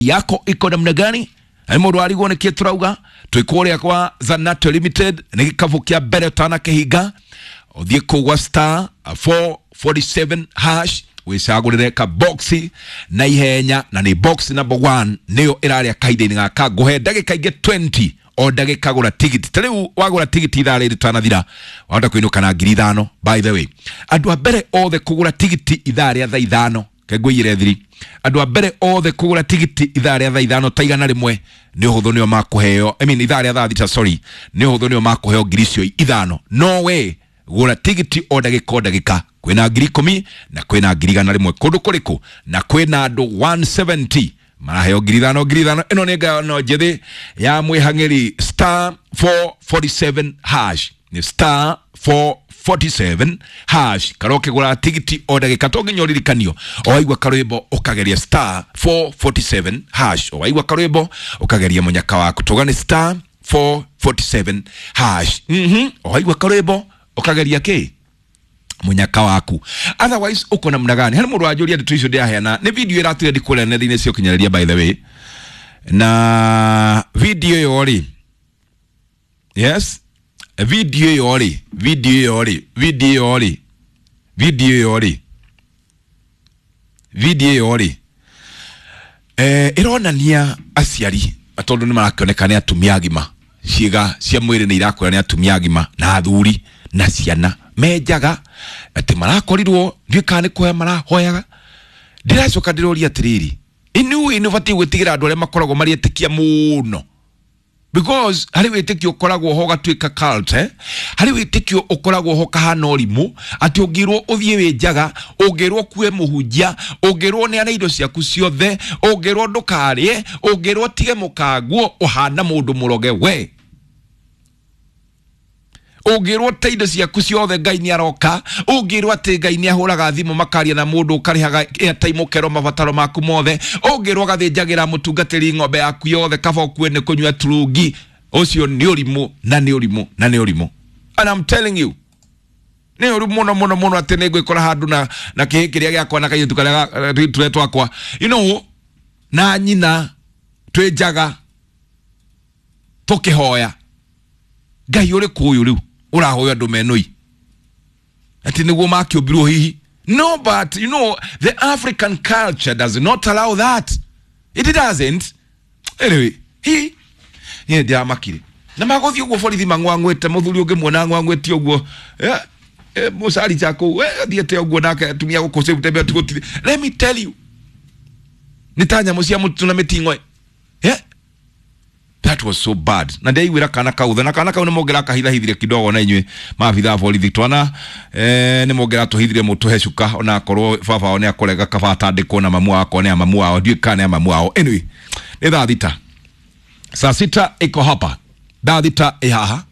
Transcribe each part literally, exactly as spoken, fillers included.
Yako iko namna gani? Nĩ mũndũ arigwo nĩkĩ tũrauga twĩ kũrĩa kwa Zanato Limited, nĩ gĩkabũ kĩa mbere ũtanakĩhinga, ũthiĩ kũu gwa star four forty-seven hash wĩcagũrĩre ka box na ihenya, na nĩ box number one nĩyo ĩrarĩa kahinda-inĩ gaka. Ngũhe ndagĩka ingĩ twenty o ndagĩka gũra tigiti. Ta rĩu wagũra tigiti ithaa rĩrĩ tanathira, wahota kũinũka na ngiri ithano. By the way, andũ a mbere othe kũgũra tigiti ithaa rĩa thaa ithano, kengũiyĩre thiri, andũ a mbere othe kũgũra tigiti ithaa rĩa thaa ithano ta igana rĩmwe nĩ ũhũthũ nĩo makũheo, I mean ithaa rĩa thaa thita, sorry, nĩ ũhũthũ nĩo makũheo ngiri icio ithano. No we gũra tigiti o ndagĩka o ndagĩka, kwĩna ngiri ikũmi na kwĩna ngiri igana rĩmwe kũndũ kũrĩkũ, na kwĩna andũ one seventy maraheo ngiri ithano ngiri ithano. Ĩno nĩ ngano njĩthĩ ya mwĩhang'ĩri, star four forty-seven hash, nĩ star four forty-seven hash. Karwo ũkĩgũra tigiti o ndagĩka, to nginya ũririkanio, o waigua karwĩmbo ũkageria star four forty-seven hash, o waigua karwĩmbo ũkageria mũnyaka waku, tuga nĩ star four forty-seven hash. Mhm, o waigua karwĩmbo ũkageria kĩ munyaka waku, otherwise uko namna gani? Harĩ mũndũ wanjũria ndeto icio ndĩraheana, nĩ video ĩratire ndikũrĩa nenda-inĩ cia ũkinyanĩria, by the way, na video ĩyo rĩ, yes, video ĩyo rĩ, video ĩyo rĩ, video ĩyo rĩ, video ĩyo rĩ, video ĩyo rĩ, eh, ĩronania aciari, tondũ nĩ marakĩoneka nĩ atumia agima, ciĩga cia mwĩrĩ nĩ irakwĩra nĩ atumia agima na athuri na ciana menjaga, atĩ marakorirwo ndiũĩ kana nĩ kũhoya marahoyaga. Ndĩracoka ndĩroria atĩrĩrĩ, inyuĩ nĩ ũbatiĩ gwĩtigĩra andũ arĩa makoragwo marĩ etĩkia mũno, because harĩ wĩtĩkio ũkoragwo ho ũgatuĩka cult, eh? Harĩ wĩtĩkio ũkoragwo ho kahana ũrimũ, atĩ ũngĩrwo ũthiĩ wĩ njaga, ũngĩrwo ũkue mũhunjia, ũngĩrwo ũneane indo ciaku ciothe, ũngĩrwo ndũkarĩe, ũngĩrwo ũtige mũkanguo, ũhana mũndũ mũroge we. Ũngĩrwo te indo ciaku ciothe Ngai nĩ aroka, ũngĩrwo atĩ Ngai nĩ ahũraga thimũ makaria na mũndũ ũkarĩhaga airtime ũkerwo mabataro maku mothe, ũngĩrwo ũgathĩnjagĩra mũtungatĩri ng'ombe yaku yothe kaba ũkue nĩ kũnyua turungi, ũcio nĩ ũrimũ na nĩ ũrimũ na nĩ ũrimũ. And I'm telling you, nĩ ũru mũno mũno mũno atĩ nĩ ngwĩkora handũ na, na kĩhĩ kĩrĩa gĩakwa na kairĩtu karĩa ga-, tũrĩa twakwa, you know, na nyina twĩ njaga tũkĩhoya Ngai ũrĩkũ ũyũ rĩu ũrahoya andũ menũi atĩ nĩguo makĩũmbirwo hihi? No, but you know, the African culture does not allow that. It doesn't. Anyway, hi niĩ ndĩramakire na magũthiĩ ũguo borithi mang'wang'wĩte, mũthuri ũngĩmuona ang'wang'wĩte ũguo, eh, eh, mũcari cha kũu, eh, athiĩte ũguo nake atumia gũkũ gũtembea tũgũtirĩ. Let me tell you, nĩ ta nyamũ cia mũtitũ na mĩting'oe. Yeah? That was so bad. Na ndaiguĩra kana kau tha, na kana kau nĩ mũngĩrakahithahithire kidogo na inyuĩ maabithaa borithi twana, eh, nĩ mũngĩratũhithire mũtũhe cuka, ona akorwo baba wao nĩ akũrega kaba atandĩkwo na mamu wakwa nĩ a mamu wao, ndiũĩ kana nĩ a mamu wao. Anyway, nĩ thaa thita, saa sita iko hapa, thaa thita ĩ haha.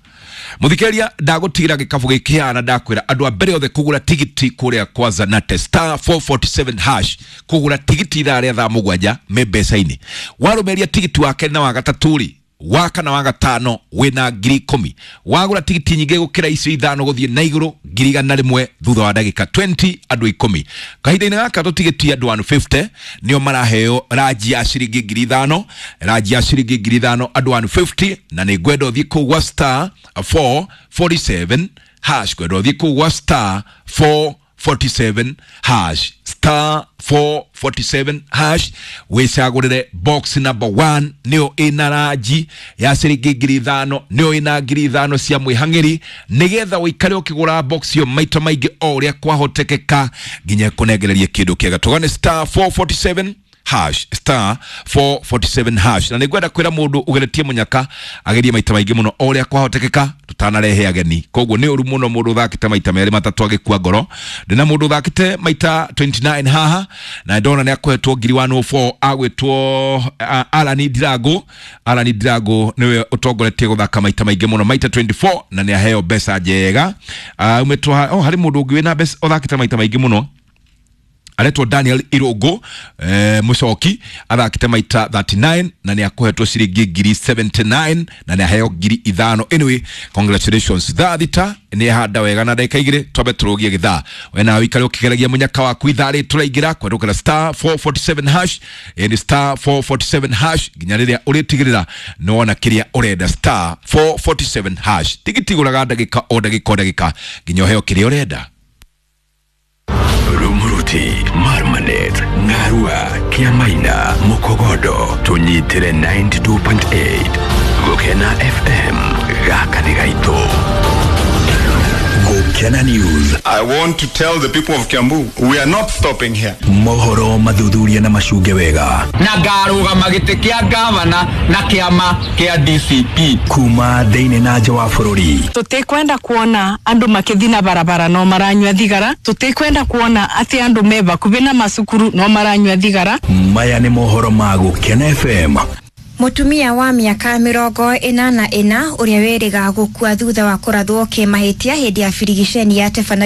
Mũthikĩrĩria, ndagũtigĩra gĩkabũ gĩkĩ haha na ndakwĩra andũ a mbere othe kũgũra tigiti kũrĩa kwa Zanate star four forty-seven hash, kũgũra tigiti ithaa rĩa thaa mũgwanja me mbeca-inĩ. Warũmĩrĩria tigiti wa kerĩ na wa gatatũ rĩ, wa kana wa gatano wĩna ngiri ikũmi. Wagũra tigiti nyingĩ gũkĩra icio ithano gũthiĩ na igũrũ ngiri igana rĩmwe thutha wa ndagĩka twenty andũ ikũmi. Kahinda-inĩ gaka tũtigĩtie andũ one fifty nĩo maraheo ranji ya ciringi ngiri ithano, ranji ya ciringi ngiri ithano andũ one fifty, na nĩ ngwenda ũthiĩ kũu gwa star four forty-seven hash, ngwenda ũthiĩ kũu gwa star four forty-seven hash, star four forty-seven hash, wĩcagũrĩre box number one nĩyo ĩna ranji ya ciringi ngiri ithano, nĩyo ĩna ngiri ithano cia mwĩhang'ĩri, nĩgetha ũikare ũkĩgũra box ĩyo maita maingĩ o ũrĩa kwahotekeka nginya ĩkũnengererie kĩndũ kĩega. Tũgane star four forty-seven hash, star four forty-seven hash. Na nĩngwenda kwĩra mũndũ ũgeretie mũnyaka agerie maita maingĩ mũno o ũrĩa kwahotekeka tũtanarehe ageni. Koguo nĩ ũru mũno mũndũ ũthakĩte maita merĩ matatũ agĩkua ngoro. Ndĩna mũndũ ũthakĩte maita twenty-nine haha na ndona nĩ akũhetwo ngiri one oh four, agwĩtwo, uh, Alan Ndirango. Alan Ndirango nĩwe ũtongoretie gũthaka maita maingĩ mũno maita twenty-four na nĩ aheo mbeca njega. Uh, umĩtwo ha-, oh, harĩ mũndũ ũngĩ wĩna mbeca ũthakĩte maita maingĩ mũno Aretwo Daniel Irungu, eh, mucoki athakite maita thirty-nine na nĩ akũhetwo ciringi ngiri seventy-nine na nĩ aheo ngiri ithano. Anyway, congratulations. Thaa thita nĩ handa wega na ndagĩka igĩrĩ twambe tũrũgie gĩthaa. We nawe ikare ũkĩgeragia mũnyaka waku ithaa rĩrĩ tũraingĩra kwerũkĩra star four forty-seven hash, ĩni star four forty-seven hash nginya rĩrĩa ũrĩtigĩrĩra nĩ wona kĩrĩa ũrenda. Star four forty-seven hash, tigiti gũraga ndagĩka o ndagĩka o ndagĩka nginya ũheo kĩrĩa ũrenda. Rumuruti, Marmanet, Ngarua, Kiamaina, Mukogodo, tunyitire ninety-two point eight. Gukena F M, gaka nĩ gaitũ. Gukena News. I want to tell the people of Kiambu, we are not stopping here. Mohoro mathuthuria na macunge wega. Na ngarũgama gĩtĩ kĩa gavana na kĩama kĩa D C P. Kuma thĩinĩ na nja wa bũrũri. Tũtikwenda kuona andũ makĩthi na barabara no maranyua thigara. Tũtikwenda kuona atĩ andũ me bakubi na macukuru no maranyua thigara. Maya nĩ mohoro ma Gukena F M. Mutumia wa miaka mirongo ĩna na ĩna ũrĩa wĩrĩga gũkua thutha wa kũrathwo kĩmahĩtia hĩndĩ ya birigiceni ya tebana